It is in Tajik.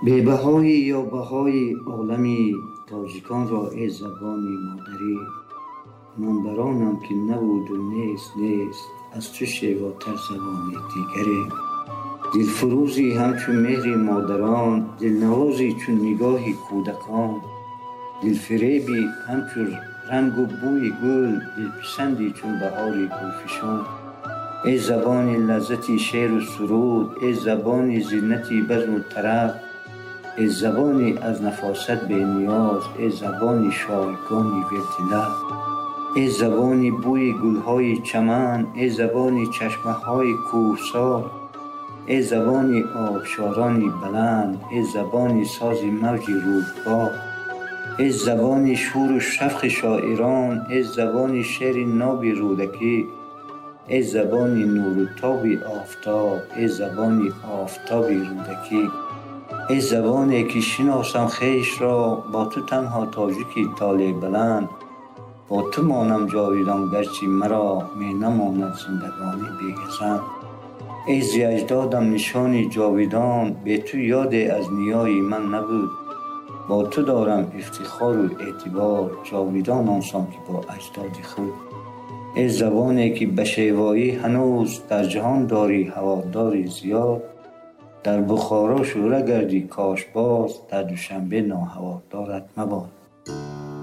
Бебаҳоӣ ё баҳои олами тоҷиконро, эй забони модарӣ. Ман бар онам, ки набуду нест, нест аз ту шевотар забони дигаре. Дилфурӯзӣ ҳамчун меҳри модарон, дилнавозӣ чун нигоҳи кӯдакон, дилфиребӣ ҳамчун рангу бӯи гул, дилписандӣ чун баҳори гулфишон. Эй забони лаззати шеъру суруд, эй забони зинати базму тараб, эй забони аз нафосат бениёз, эй забони шойгони вирди лаб. Эй забони бӯи гулҳои чаман, эй забони чашмаҳои кӯҳсор, эй забони обшорони баланд, эй забони сози мавҷи рӯдбор, эй забони шуру шавқи шоирон, эй забони шеъри ноби Рӯдакӣ, эй забони нуру тоби офтоб, эй забони офтоби Рӯдакӣ. Эй забоне, ки шиносам хешро, бо ту танҳо тоҷики толеъбаланд, бо ту монам ҷовидон, гарчи маро менамонад зиндагонӣ бегазанд. Эй зи аҷдодам нишони ҷовидон, бе ту ёде аз ниёи ман набуд. Бо ту дорам ифтихору эътибор, ҷовидон он сон, ки бо аҷдоди худ. Эй забоне, ки ба шевоӣ ҳанӯз дар ҷаҳон дорӣ ҳаводори зиёд, дар Бухоро шӯра гардӣ кош боз, дар Душанбе ноҳаводорат мабод.